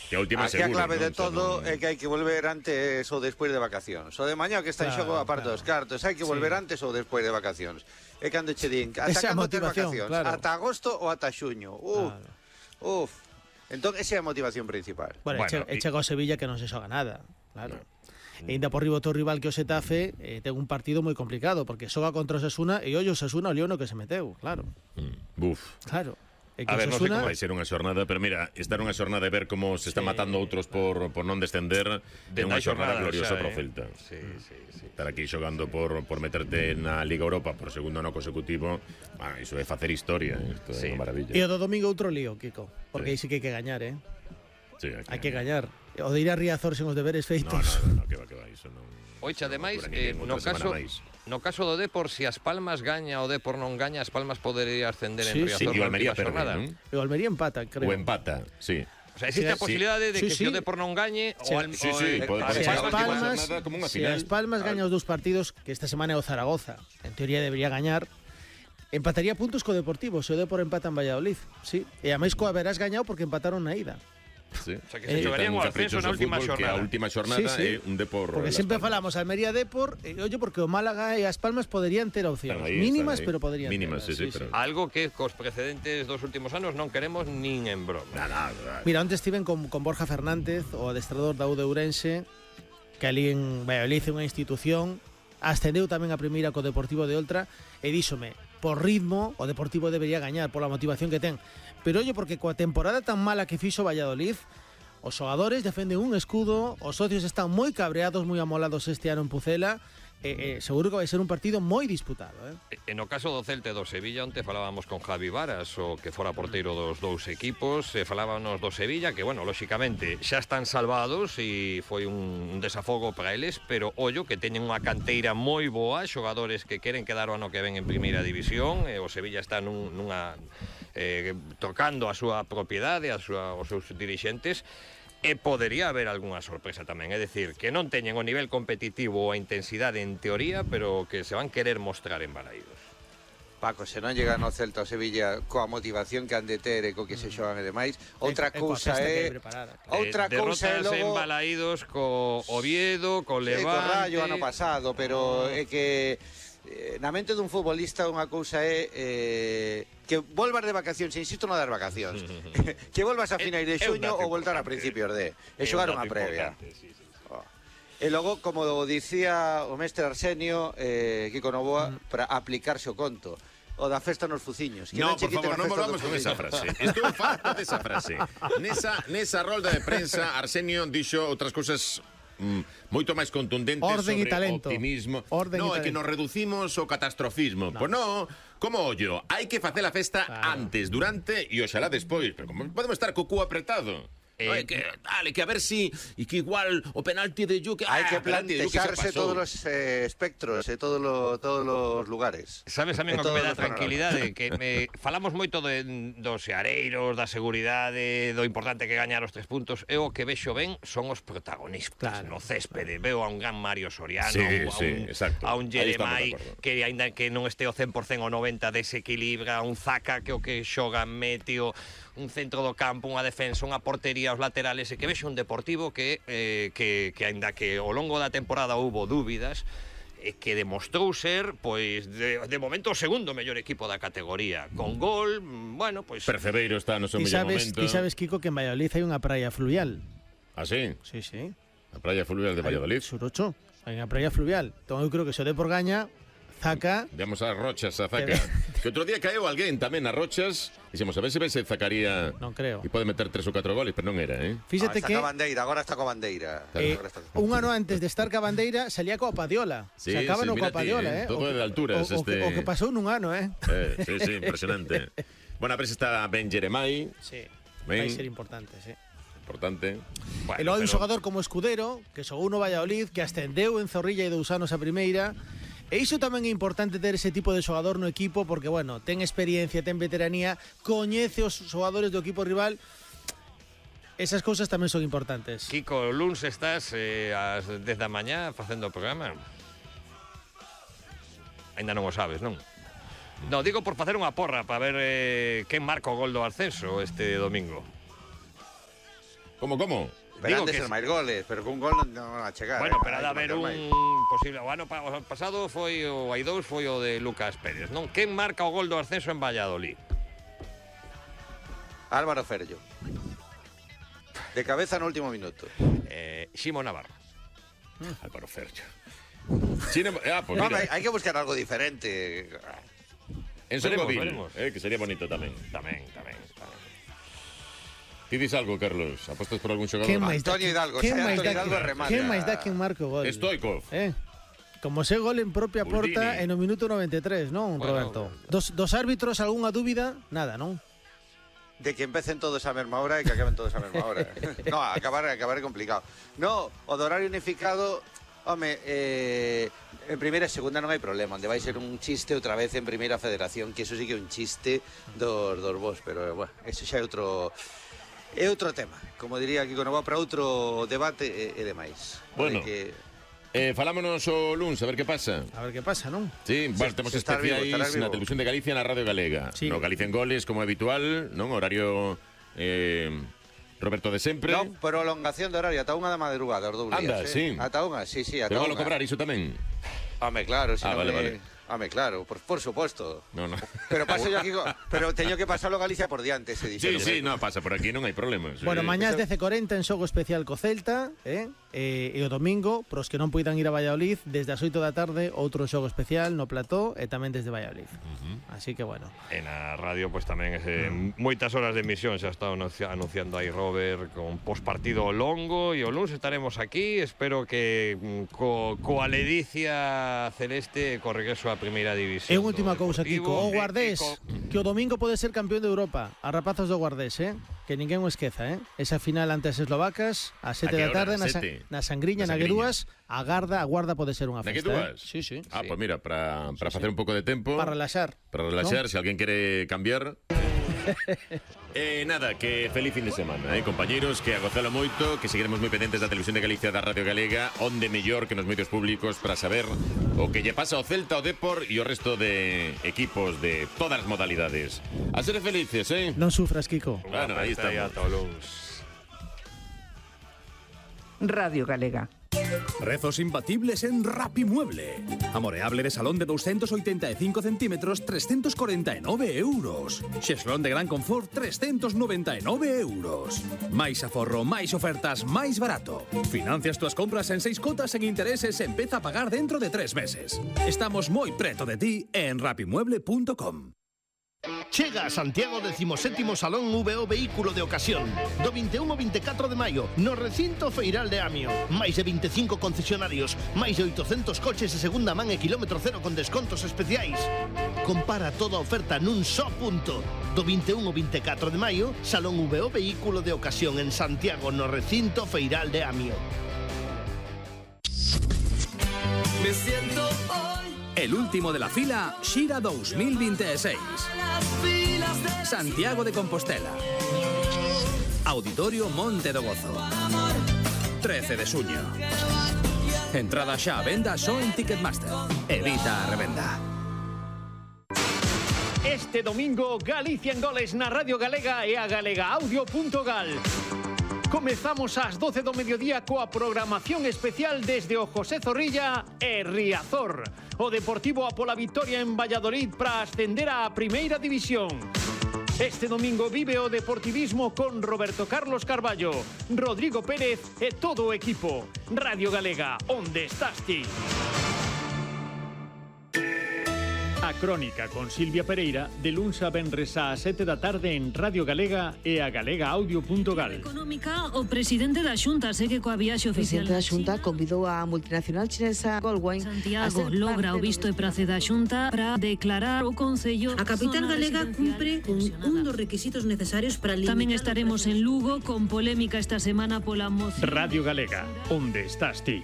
Que a última aquí a seguro, clave non? de todo é que hai que volver antes ou despois de vacacións. O de mañá que está en xogo, aparte dos cartos, hai que volver antes ou despois de vacacións. É cando che din, ata cando tes vacacións? Ata agosto ou ata xuño? Uf. Entón, esa é a motivación principal. Bueno, e chega o Sevilla que non se xoga nada, claro. E ainda por riba o rival que o Xetafe ten un partido moi complicado, porque xoga contra o Osasuna e ollo o Osasuna o lío no que se meteu, claro. Claro. A ver, non sei como vai ser unha xornada, pero mira, estar unha xornada e ver como se están matando outros por non descender é unha xornada gloriosa para o Celta. Estar aquí xogando por meterte na Liga Europa por segundo ano consecutivo, iso é facer historia, isto é unha maravilla. E o do domingo outro lío, Kiko, porque aí sí que hai que gañar, hai que gañar. O de ir a Riazor sen os deberes feitos. No, que va, iso non... Oixe, ademais, no caso do Depor, se as Palmas gaña o Depor non gaña, as Palmas podería ascender en Riazor na última xornada. E o Almería empata, creo. O empata, sí. O sea, existe a posibilidade de que se o Depor non gañe se as Palmas gaña os dous partidos, que esta semana é o Zaragoza, en teoría debería gañar, empataría puntos co Deportivo, se o Depor empata en Valladolid, sí. E a máis coa verás gañado porque empataron na ida. Sí. O sea, que se xogarían o ascenso na última xornada. Que a última xornada é un Depor. Porque sempre falamos Almería Depor, ollo, porque o Málaga e as Palmas poderían ter opcións mínimas, pero poderían mínimas, ter. Algo que cos precedentes dos últimos anos non queremos nin en broma. Mira, antes estiven con Borja Fernández, o adestrador da U de Ourense, que ali en Valladolid é unha institución, ascendeu tamén a primeira co Deportivo de Oltra, e díxome, por ritmo, o Deportivo debería gañar pola motivación que ten. Pero ollo, porque coa temporada tan mala que fixo Valladolid, os xogadores defenden un escudo, os socios están moi cabreados, moi amolados este ano en Pucela, seguro que vai ser un partido moi disputado. No caso do Celta e do Sevilla, onte falábamos con Javi Varas, o que fora porteiro dos dous equipos, falábamos do Sevilla, que, bueno, lóxicamente xa están salvados e foi un desafogo para eles, pero ollo, que teñen unha canteira moi boa, xogadores que queren quedar o ano que ven en primeira división, e o Sevilla está nunha tocando a súa propiedade, os seus dirixentes, e podería haber algunha sorpresa tamén, é dicir, que non teñen o nivel competitivo ou a intensidade en teoría, pero que se van querer mostrar en Balaídos. Paco, se non llegan ao Celta ou Sevilla coa motivación que han de ter e co que se xogan e demais, outra cousa é derrotas en Balaídos co Oviedo, co Levante, co Rayo ano pasado, pero é que na mente dun futbolista unha cousa é que volvas de vacacións, insisto, non dar vacacións, que volvas a finais de xuño ou voltar a principios de xogar unha previa. E logo, como dicía o mestre Arsenio, Kiko Novoa, para aplicarse o conto, o da festa nos fuciños. No, por favor, non volvamos con esa frase. Estou farto desa frase. Nesa rolda de prensa, Arsenio dixo outras cousas moito máis contundentes sobre optimismo. É que nos reducimos o catastrofismo. Pois non, como ollo, hai que facer a festa antes, durante e oxalá despois. Pero como podemos estar co cu apretado? Que a ver si e que igual o penalti de Yuque hai que plantearse todos os espectros e todos os lugares. Sabes a mí o que me dá tranquilidade, que falamos moito dos seareiros, da seguridade, do importante que gañar os 3 puntos. Eu o que vexo ben son os protagonistas no céspede. Veo a un gran Mario Soriano, a un Jeremai que aínda que non este o 100% o 90 desequilibra, un Zaka que o que xoga meteo, un centro do campo, unha defensa, unha portería, os laterales, e que vexo un Deportivo que aínda que ao longo da temporada houbo dúbidas, que demostrou ser, pois, de momento o segundo mellor equipo da categoría, con gol, bueno, pois... Percebeiro está no seu mellor momento. Ti sabes, Kiko, que en Valladolid hai unha praia fluvial. Ah, sí? Sí. A praia fluvial de Valladolid? Surocho, hai unha praia fluvial. Entón eu creo que se o Depor gaña, Zaka... Demos as rochas a Zaka. Que outro día caeu alguén tamén nas rochas. Dixemos, a ver se Zacaría... Non creo. E pode meter 3 ou 4 goles, pero non era, Fíxate que... Agora está coa bandeira. Un ano antes de estar coa bandeira, salía coa Padiola. Se acaban coa Padiola, Todo de alturas. O que pasou nun ano, Sí, impresionante. Bueno, a ver se está ben Jeremai. Sí, vai ser importante, sí. Importante. E logo hai un xogador como Escudero, que xogou no Valladolid, que ascendeu en Zorrilla e 2 anos a primeira. E iso tamén é importante ter ese tipo de xogador no equipo, porque, bueno, ten experiencia, ten veteranía, coñece os xogadores do equipo rival. Esas cousas tamén son importantes. Kiko, luns estás ás 10 da mañá facendo o programa? Ainda non o sabes, non? Non, digo por facer unha porra para ver quen marca o gol do ascenso este domingo. Como? Pero han de ser máis goles, pero con un gol non a chegar. Bueno, pero ha de haber un posible... O ano pasado foi o hai dous, foi o de Lucas Pérez, non? Quen marca o gol do ascenso en Valladolid? Álvaro Ferllo. De cabeza no último minuto. Ximo Navarro. Álvaro Ferllo. Pues no, hai que buscar algo diferente. En Sorgovil, que sería bonito tamén. Tamén. Ti dis algo, Carlos? Apostas por algún xogador? Antonio Hidalgo. Antonio Hidalgo remata. Quen máis dá quen marca o gol? Stoikov. Como se gol en propia porta en o minuto 93, non, Roberto? Dos árbitros, algunha dúbida? Nada, non? De que empecen todos a mesma hora e que acaben todos a mesma hora. No, acabar é complicado. No, o do horario unificado, home, en primeira e segunda non hai problema, onde vai ser un chiste outra vez en primeira federación, que eso sí que é un chiste dos vos, pero, bueno, eso xa é outro tema. Como diría Kiko Novoa, para outro debate e demais. Bueno, falámonos o luns, a ver que pasa. A ver que pasa, non? Sí, bueno, temos especiais na Televisión de Galicia na Radio Galega. Sí. No Galicia en Goles, como habitual, non? Horario Roberto de sempre. Non, prolongación de horario, ata unha da madrugada, os dobles. Anda, sí. Ata unha, sí, ata Pero unha. valo cobrar iso tamén? Home, claro, si vale. Home, claro, por suposto. No. Pero paso yo aquí, pero teño que pasarlo Galicia por diante, se dice. Sí, no, pasa por aquí, non hai problemas. Bueno, mañás 10:40 en xogo especial co Celta, e o domingo, pros que non poidan ir a Valladolid, desde as 8 da tarde, outro xogo especial no plató e tamén desde Valladolid. Así que, bueno. En a radio, pues tamén moitas horas de emisión, xa está anunciando aí Robert con postpartido longo, e o lunes estaremos aquí, espero que coa ledicia celeste co regreso a primeira división. E última cousa, Kiko, o Guardés, que o domingo pode ser campeón de Europa, a rapazos do Guardés, que ninguén o esqueza, esa final ante as eslovacas, a 7 da tarde, na Sangriña, na Gueduas, a guarda pode ser unha festa. Na Gueduas? Sí. Pues mira, para facer un pouco de tempo. Para relaxar. ¿No? Se alguén quere cambiar. Nada, que feliz fin de semana, compañeros, que a gozalo moito, que seguiremos moi pendentes da Televisión de Galicia, da Radio Galega, onde mellor que nos medios públicos para saber o que lle pasa ao Celta, ao Depor e o resto de equipos de todas as modalidades. A ser felices, Non sufras, Kiko. Bueno, aí estamos. Radio Galega. Rezos imbatibles en Rapimueble. Amoreable de salón de 285 centímetros, 349 euros. Xeslón de gran confort, 399 euros. Máis aforro, máis ofertas, máis barato. Financias túas compras en 6 cotas en intereses e empeza a pagar dentro de 3 meses. Estamos moi preto de ti en rapimueble.com. Chega a Santiago 17º Salón VO Vehículo de Ocasión do 21 ao 24 de maio no recinto feiral de Amio. Máis de 25 concesionarios, máis de 800 coches de segunda man e kilómetro cero con descontos especiais. Compara toda a oferta nun só punto. Do 21 ao 24 de maio, Salón VO Vehículo de Ocasión en Santiago no recinto feiral de Amio. Me siento hoy el último de la fila Xira 2026. Santiago de Compostela. Auditorio Monte do Gozo. 13 de xuño. Entrada xa a venda só en Ticketmaster. Evita a revenda. Este domingo, Galicia en Goles na Radio Galega e a galegaaudio.gal. Comezamos ás 12 do mediodía coa programación especial desde o José Zorrilla e Riazor. O Deportivo a pola vitoria en Valladolid para ascender á Primeira División. Este domingo vive o deportivismo con Roberto Carlos Carballo, Rodrigo Pérez e todo o equipo. Radio Galega, onde estás ti? A Crónica con Silvia Pereira de luns a venres a 7 da tarde en Radio Galega e a galegaaudio.gal. Económica, o presidente da Xunta segue coa viaxe oficial. O presidente da Xunta convidou a multinacional chinesa Goldwine Santiago logra o visto e prace da Xunta para declarar o Concello. A capital galega cumpre con un dos requisitos necesarios para limitar. Tamén estaremos en Lugo con polémica esta semana pola moción. Radio Galega, onde estás ti?